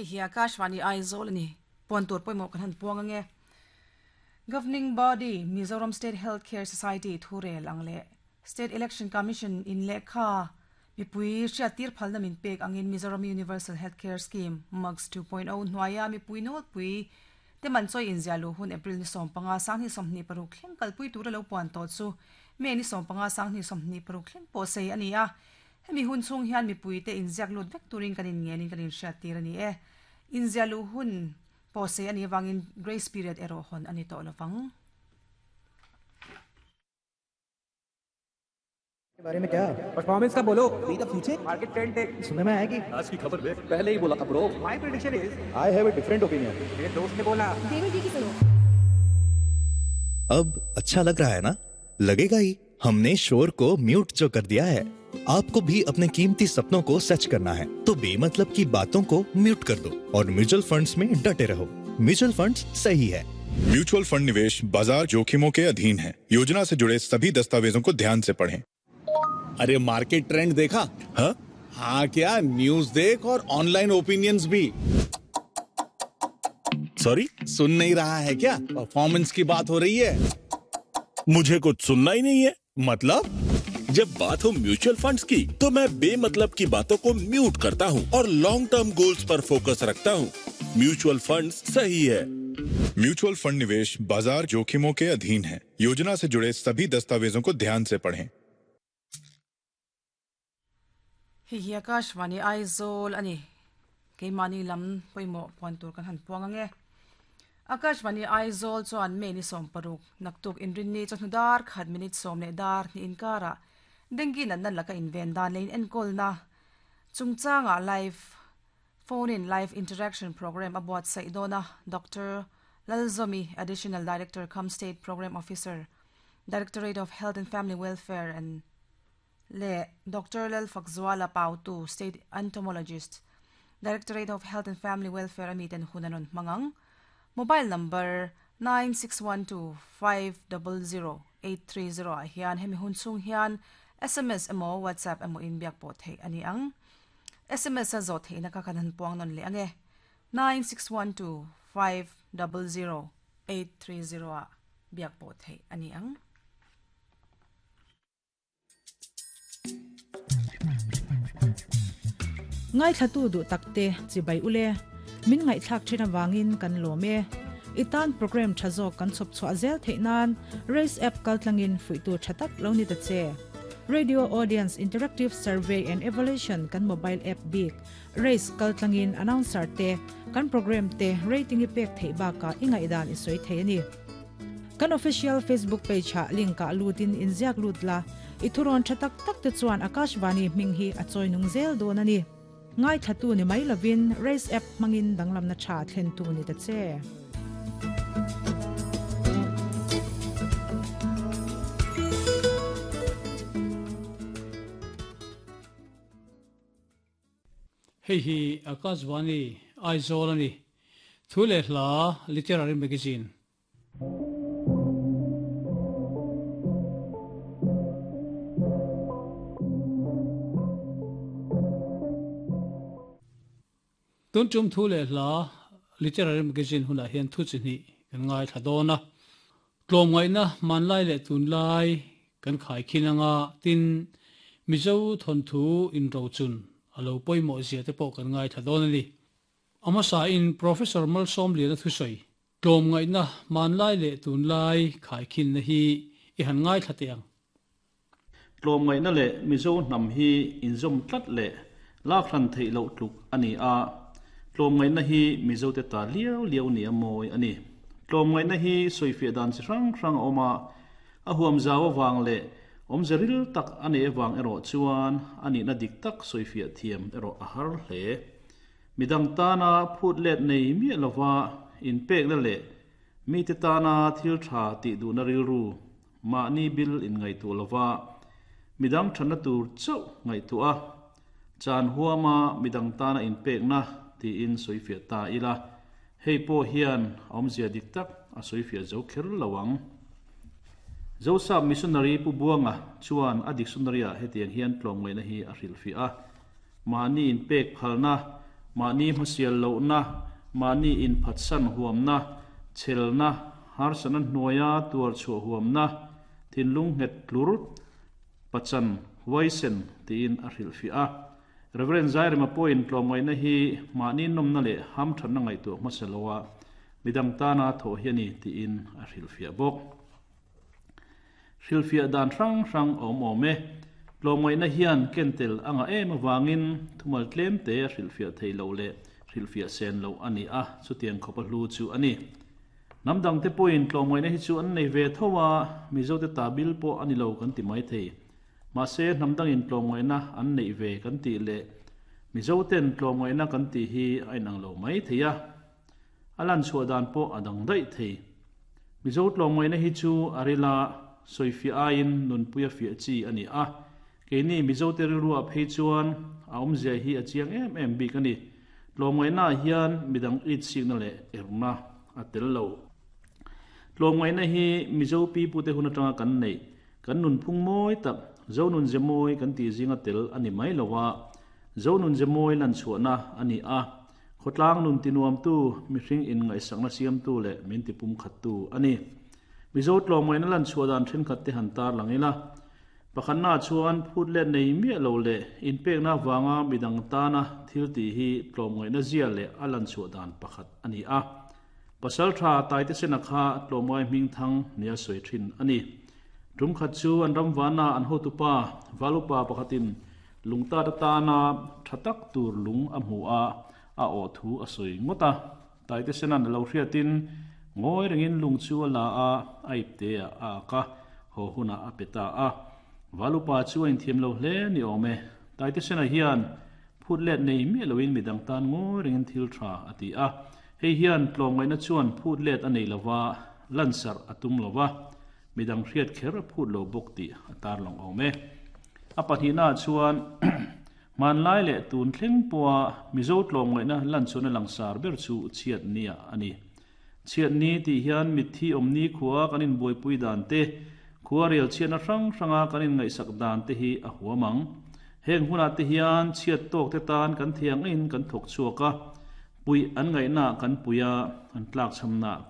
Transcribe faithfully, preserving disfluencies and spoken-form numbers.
Hei hi Akashvani Aizawl ani puan tur pawimawh kan han puang ange. Governing Body Mizoram State Healthcare Society thurel ang le State Election Commission in lekha mipui hriat tir phalna min pek angin Mizoram Universal Healthcare Scheme M U G S two point oh hnuaia mipui nawlpui te man chawi inziah hun April ni sawm panga sang hi sawmhnih paruk thleng kalpui tura lo puan tawh chu May ni sawm panga sang hi sawmhnih paruk thleng pawh sei ani a. Hemi hun chung hian mipui te inziak lut vek turin kan in ngenin kan in hriat tir ani e. Inziah lu hun pawh sei ani wangin grace period erawh hawn ani tawh lovang. के बारे में क्या परफॉर्मेंस का बोलो See the future market trend देख सुनने में आया कि आज की खबर देख पहले ही बोला था bro my prediction is I have a different opinion मेरे दोस्त ने बोला देवी जी की सुनो अब अच्छा लग रहा है ना? लगेगा ही, हमने शोर को म्यूट जो कर दिया है। आपको भी अपने कीमती सपनों को सच करना है तो बेमतलब की बातों को म्यूट कर दो और म्यूचुअल फंड्स में डटे रहो। म्यूचुअल फंड्स सही है। म्यूचुअल फंड निवेश बाजार जोखिमों के अधीन है। योजना से जुड़े सभी दस्तावेजों को ध्यान से पढ़ें। अरे मार्केट ट्रेंड देखा? हाँ हाँ क्या न्यूज देख और ऑनलाइन ओपिनियंस भी। सॉरी सुन नहीं रहा है क्या? परफॉर्मेंस की बात हो रही है। मुझे कुछ सुनना ही नहीं है। मतलब जब बात हो म्यूचुअल फंड्स की तो मैं बेमतलब की बातों को म्यूट करता हूँ और long term goals पर फोकस रखता हूँ। म्यूचुअल फंड्स सही है। म्यूचुअल फंड निवेश बाजार जोखिमों के अधीन है। योजना से जुड़े सभी दस्तावेजों को ध्यान से पढ़ें। Hei hi Akashvani Aizawl ani keimahni lam pawimawh puan tur kan han puang ange. Akashvani Aizawl chuan May ni sawm paruk naktuk inrinni chawhnu dar khat minute sawm leh dar ni inkara dengue natna laka inven dan lein enkawlna chungchanga live phone in live interaction program a buatsaih dawna Doctor Lalzomi, Additional Director cum State Program Officer, Directorate of Health and Family Welfare and le Doctor Lalfakzuala Pautu, State Entomologist, Directorate of Health and Family Welfare amiten hunanon mangang. Mobile number nine six one two five zero zero eight three zero a hian hemi hun chung hian S M S emaw WhatsApp emaw in biak pawh theih ani ang. S M S a zawh theihna ka kan han puang nawn leh ange nine six one two five zero zero eight three zero a biak pawh theih ani ang. Ngai thlatu du takte chibai ule min ngai thlak thina wangin kan lome itan program thazo kan chop chwa zel theinan race app kaltlangin fuitu thatak loni ta che Radio Audience Interactive Survey and Evaluation kan mobile app big race kaltlangin announcer te kan program te rating ipek thei ba ka ingai dan isoi thei ani kan official Facebook page ha link ka lutin inziak lutla ithuron thatak tak te chuan Akashvani hming hi a choinung zel don ani ngai thatu ni mai lovin race app mangin danglam na tha thlen tu ni ta che. Hei hi Akashvani Aizawl ani thule hla literary magazine. Tun tum thule hla literary magazine huna hian thu chi ni kan ngai thadona tlom ngai na manlai le tun lai kan khai khinanga tin mizo thon thu in ro chun alo poimo zia te pawh kan ngai thadona ni ama sa in Professor Malsom Lian thu soi tlom ngai na manlai le tun lai khai khin na hi i han ngai thateng tlom ngai na le mizo nam hi in zom tlat le lak hran thei lo tluk ani a tlom ngai na hi mizo te ta liau liau ni amoi ani tlom ngai na hi soife dan chi rang rang oma a huam zawa wang le om zeril tak ani ewang ero chuan ani na dik tak soife thiam ero a har hle midang ta na phut let nei mi lova in pek na le mi te ta na thil tha ti du na ril ru ma ni bil in ngai tu lova midang thana tur chau ngai tu a chan huama midang ta na in pek na ti in soifia ta ila hei po hian awmzia dik tak a soifia zo kher lawang zo sa missionary pu buanga chuan a dictionary a hetiang hian tlom ngai na hi a hril fi a mani in pek phalna Mahni hmasial lohna, mahni inphatsan huamna, chhelna, harsatna hnuaia tuar chhuah huamna, thinlung nghet tlur, pachan, huaisen tiin a hrilhfiah a. Reverend Zairema pawhin tlawmngaihna hi mahni nawmna leh hamthatna ngaihtuah hmasa loa midang tana thawh hi a ni tiin a hrilhfiah bawk. Hrilhfiah dan hrang hrang a awm awm e. Tlawmngaihna hian kentel a ngah em avangin thumal tlem te a hrilhfiah theih loh leh hrilhfiah sen loh a ni a, chutiang khawp a hlu chu a ni. Hnam dangte pawhin tlawmngaihna hi chu an nei ve tho a, Mizote ta bil pawh a ni lo kan ti mai thei. Mahse hnam dangin tlawmngaihna an neih ve kan tih leh Mizoten tlawmngaihna kan tih hi a inang lo mai thei a, a lan chhuah dan pawh a dang daih thei. Mizo tlawmngaihna hi chu a rila sawifiah aiin nunpuia fiah chi a ni a, keini Mizote rilruah phei chuan a awmzia hi a chiang em em bik a ni. Tlawmngaihnaah hian midang itsikna leh erna a tel lo. Tlawmngaihna hi Mizo pipute hun atanga kan neih, kan nunphung mawi tak, Zo nun ze mawi kan tih zinga tel a ni mai lo a, Zo nun ze mawi lan chhuahna a ni a, khawtlang nun tinuamtu, mihring inngaihsakna siamtu leh min tipum khattu a ni. Mizo tlawmngaihna lan chhuah dan thenkhat te han tar lang ila, pakhatna chuan phut let nei miah lo leh inpekna avanga midang tana thil tih hi tlawmngaihna zia leh a lan chhuah dan pakhat a ni a. Pasal tha Taite Sena kha tlawmngai hming thang nia sawi thin a ni. Tum khat chu an ram vana an hotupa Valupa pakhatin lungtat atana tha tak tur lung a hmu a, a awh thu a sawi ngawt a. Taite Sena'n a lo hriatin ngawi rengin lung chu a la a, a ipte ah a ak a, haw hunah a pe ta a. Valupa chu a inthiam lo hle ni awm e. Taite Sena hian phut let nei miah loin midang tan ngawi rengin thil tha a ti a. Hei hian tlawmngaihna chuan phut let a nei lova, lansarh a tum lova, midang hriat kher a phut lo bawk tih a tar lang awm e. A pahnihnaah chuan hmanlai leh tun thleng pawha Mizo tlawmngaihna lan chuan a langsar ber chu chhiat nia a ni. Chhiat ni tih hian mitthi awmni khua kan inbuaipui dan te, khua rel chhiatna hrang hranga kan inngaihsak dan te hi a huam ang. Heng hunah te hian chhiat tawk te tan kan thiang in kan thawk chhuak a, puih an ngaihna kan pui a, an tlak chhamna